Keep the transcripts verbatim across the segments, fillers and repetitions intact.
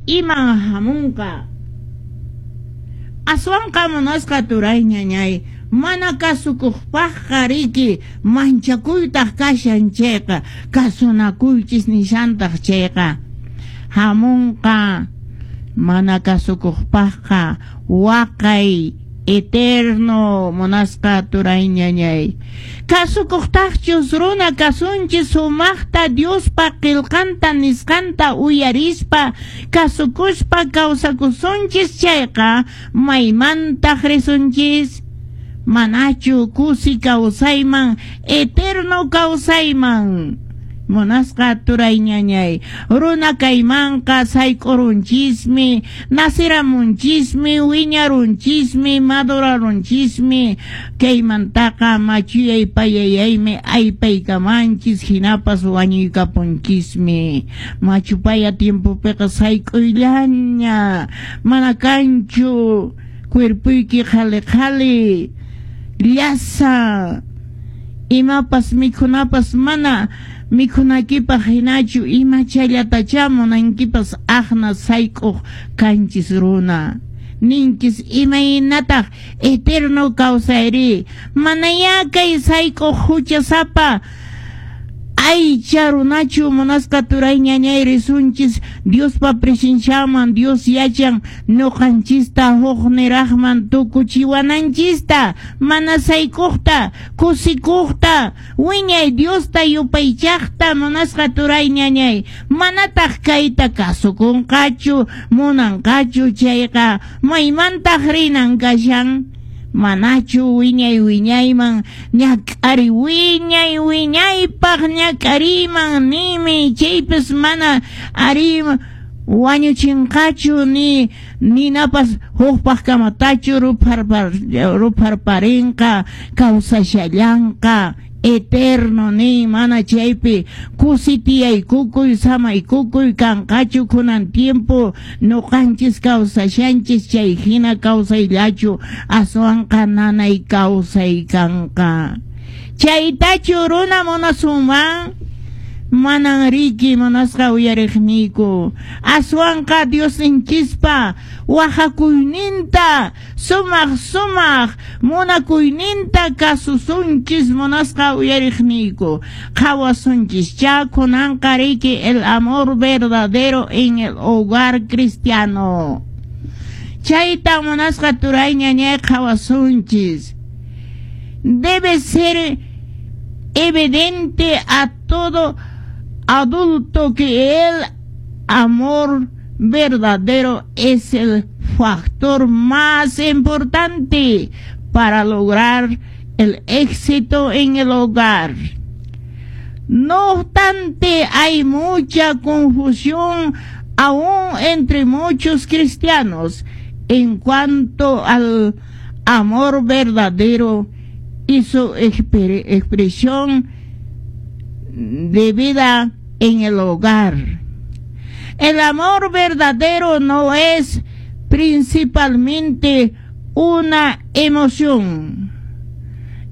iman hamunqa. Aswanqa munasqa turay ñañay, mana kasukuqpaqqa riki manchakuytaq kashan chayqa, kasunakuychis nishantaq chayqa, hamunqa mana kasukuqpaqqa waqay eterno munasqa turay ñañay. Kasukuqtaqchus runa kasunchis sumaqta Diospa qillqanta nisqanta uyarispa kasukuspa kawsakusunchis chayqa maymantaq risunchis, manachu kusi kawsayman eterno kawsayman. Munasqa turay ñañay, runa kaymanqa sayk'urunchismi, nasiramunchismi, wiñarunchismi, madurarunchismi, kaymantaqa machuyay payayaymi aypaykamanchis, hinapas wañuykapunchismi. Machupaya tiempopiqa sayk'uyllaña, mana kanchu cuerpuyki qhali qhali, llasa, imapas mikhunapas mana mikhunakipaq hinachu, imachallatachá munankipas aqna sayk'uq kanchis runa. Ninkis imaynataq eterno kawsayri, manayá kay sayk'uq huchasapa aycha runachu munasqa turay ñañay risunchis Diospa presenciaman. Dios yachan ñuqanchista huk niraqman tukuchiwananchista, mana sayk'uqta, kusikuqta, wiñay Diosta yupaychaqta munasqa turay ñañay. Manataq kayta kasukunqachu, munanqachu chayqa maymantaq rinan kashan, manachu wiñay wiñayman ñak'ari wiñay wiñaypaq ñak'ariman nimi, chaypis mana ari wañuchinqachu ni ninapas hukpaq kamatachu rupharpar rupharparinqa kawsashallanqa eterno ni mana chaypi kusitiyaykukuy samaykukuy kanqachu kunan tiempo ñuqanchis kawsashanchis chay hina kawsayllachu, aswanqa nanay kawsay kanqa. Chaytachu runa munasunman? Manan riki munasqa uyariqniyku, aswanqa Diosninchispa waqakuyninta sumaq sumaq munakuyninta kasusunchis munasqa uyariqniyku. Qhawasunchis cha kunanqa riki el amor verdadero en el hogar cristiano. Chayta munasqa turay ñañay qhawasunchis. Debe ser evidente a todo adulto que el amor verdadero es el factor más importante para lograr el éxito en el hogar. No obstante, hay mucha confusión aún entre muchos cristianos en cuanto al amor verdadero y su expresión de vida en el hogar. El amor verdadero no es principalmente una emoción.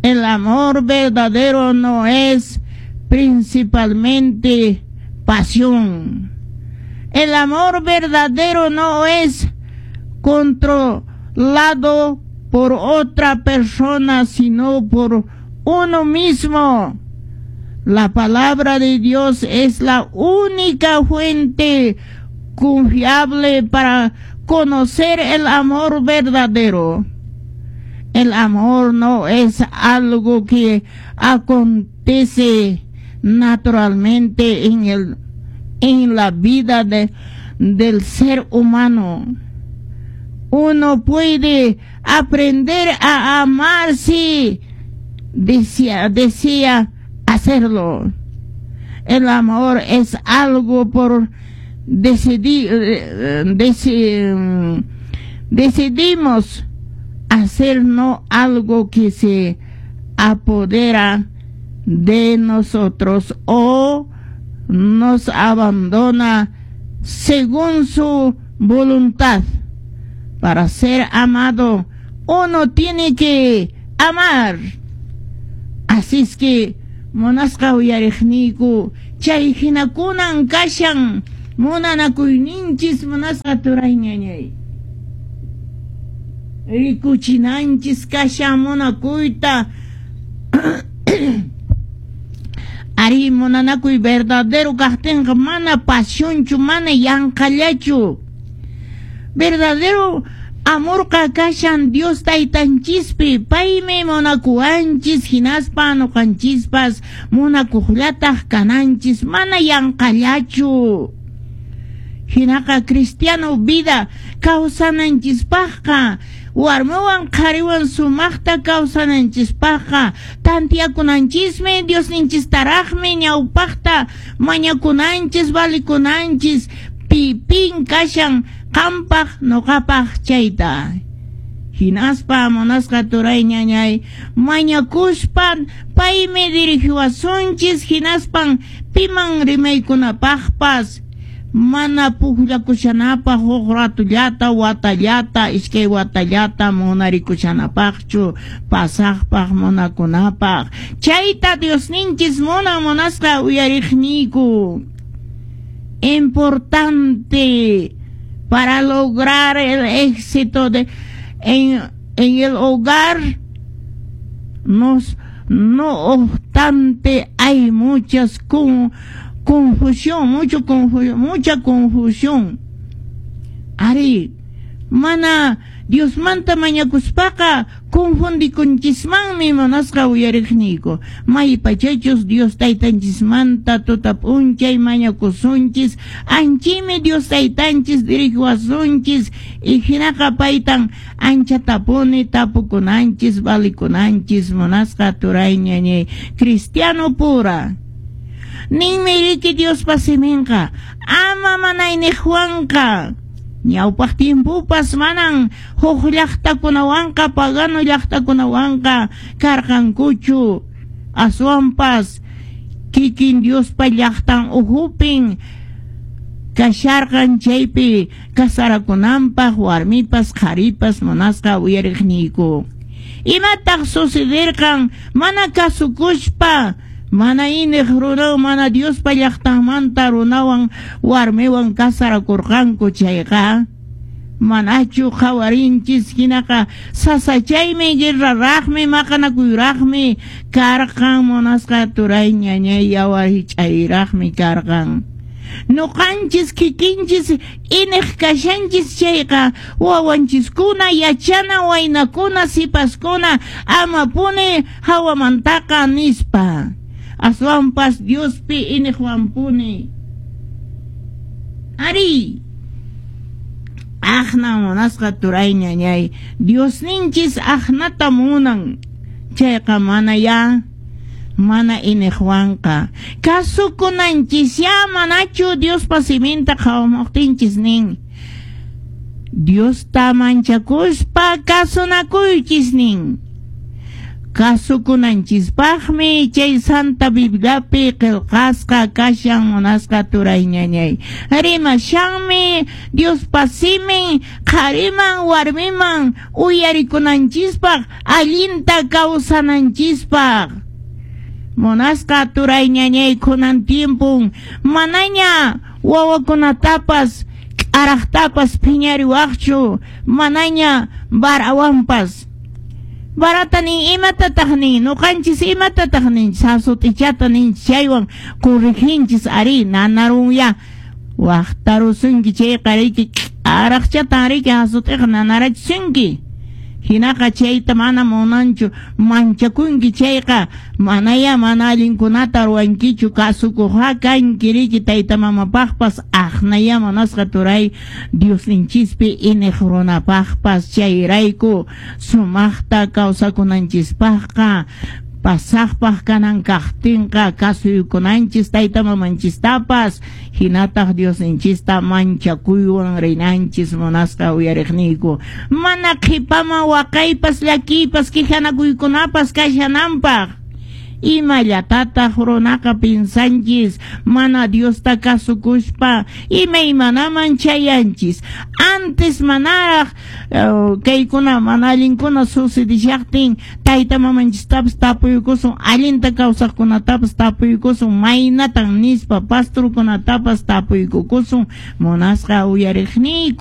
El amor verdadero no es principalmente pasión. El amor verdadero no es controlado por otra persona, sino por uno mismo. La palabra de Dios es la única fuente confiable para conocer el amor verdadero. El amor no es algo que acontece naturalmente en el en la vida de, del ser humano. Uno puede aprender a amar si desea, desea hacerlo. El amor es algo por decidir, deci, decidimos hacer, no algo que se apodera de nosotros o nos abandona según su voluntad. Para ser amado, uno tiene que amar. Así es que, munasqa uyariqniyku, chay hinakunan kashan Munanakuyninchis munasqa turay ñañay. Rikuchinanchis kashan munakuyta. Ari munanakuy verdadero kaqtinqa mana pasionchu, mana yanqallachu. Verdadero amorqa kashan Dios taytanchispi, paymi munakuwanchis hinaspa ñuqanchispas munakuqllataq kananchis, mana yanqallachu. Hinaqa cristiano vida kawsananchispaqqa, warmiwan qhariwan sumaqta kawsananchispaqqa, tantiyakunanchismi Diosninchistaraqmi ñawpaqta mañakunanchis, valikunanchis, pipin kashan qampaq ñuqapaq chayta. Hinaspa munasqa turay ñañay mañakuspa paymi dirigiwasunchis hinaspan piman rimaykunapaqpas mana pukllakushanapaq huk ratullata watallata iskay watallata munarikushanapaqchu pasaqpaq munakunapaq. Chayta Diosninchis munan munasqa uyariqniyku. Importante para lograr el éxito de, en, en el hogar, nos, no obstante hay muchas con, confusión, mucho confu, mucha confusión. Ari, mana Diosmanta mañakuspaqa confundikunchismanmi munasqa uyariqniyku. Maypachachus Dios taytanchismanta tuta p'unchay mañakusunchis, anchimi Dios taytanchis dirigiwasunchis, y hinaqa paytan anchatapuni tapukunanchis, valikunanchis munasqa turay ñañay cristiano pura. Ninmi riki Diospa siminqa ama manayniqwanqa. Ñawpaq tiempopas manan huk llaqtakunawanqa pagano llaqtakunawanqa karqankuchu, aswanpas kikin Diospa llaqtan uhupin kasharqan chaypi kasarakunanpaq warmipas qharipas munasqa uyariqniyku. Imataq sucederqan mana kasukuspa mana iniq runawan mana Diospa llaqtanmanta runawan warmiwan kasarakurqanku chayqa manachu qhawarinchis hinaqa sasachaymi guerraraqmi maqanakuyraqmi karqan munasqa turay ñañay yawar hich'ayraqmi karqan. Ñuqanchis kikinchis iniq kashanchis chayqa wawanchiskuna yachana waynakuna sipaskuna amapuni hawamantaqa nispa. Aswanpas Diospi iniqwanpuni. Ari, aqna munasqa turay ñañay Diosninchis aqnata munan chayqa mana ya mana iniqwanqa kasukunanchis ya manachu Diospa siminta qhawamuqtinchis nin. Diosta manchakuspa kasunakuychis nin. Kasukunanchispaqmi chay Santa Bibliapi qillqasqa kashan munasqa turay ñañay. Rimashanmi Diospa simin qhariman warmiman uyarikunanchispaq allinta kawsananchispaq. Munasqa turay ñañay kunan tiempun manaña wawakunatapas k'araqtapas phiñariwaqchu manaña varawanpas. Barata nin imatataq nin ñuqanchis imatataq nin sasut'ichata nin chaywan corrijinchis ari nanarunya waqtarusunki chayqa riki k'araqchatan riki hasut'iqa nanarachisunki. Hinaqa chayta mana munanchu manchakunki chayqa manaya mana allinkunata ruwankichu kasukuqqa kanki riki tayta mamapaqpas aqnaya munasqa turay Diosninchispi iniq runapaqpas chayrayku sumaqta kawsakunanchispaqqa pasaqpaq kanan kaqtinqa kasuykunanchis tayta mamanchistapas hinataq Diosninchista manchakuywan rinanchis munasqa uyariqniyku. Mana qhipaman waqaypas llakiypas quejanakuykunapas kashananpaq. Imallatataq runaqa pinsanchis mana Diosta kasukuspa imaymanaman chayanchis. Antes manaraq uh, kaykuna mana allinkuna sucedishaqtin tayta mamanchistapas tapuykusun, allinta kawsaqkunatapas tapuykusun, maynatan nispa pastorkunatapas tapuykukusun munasqa uyariqniyku.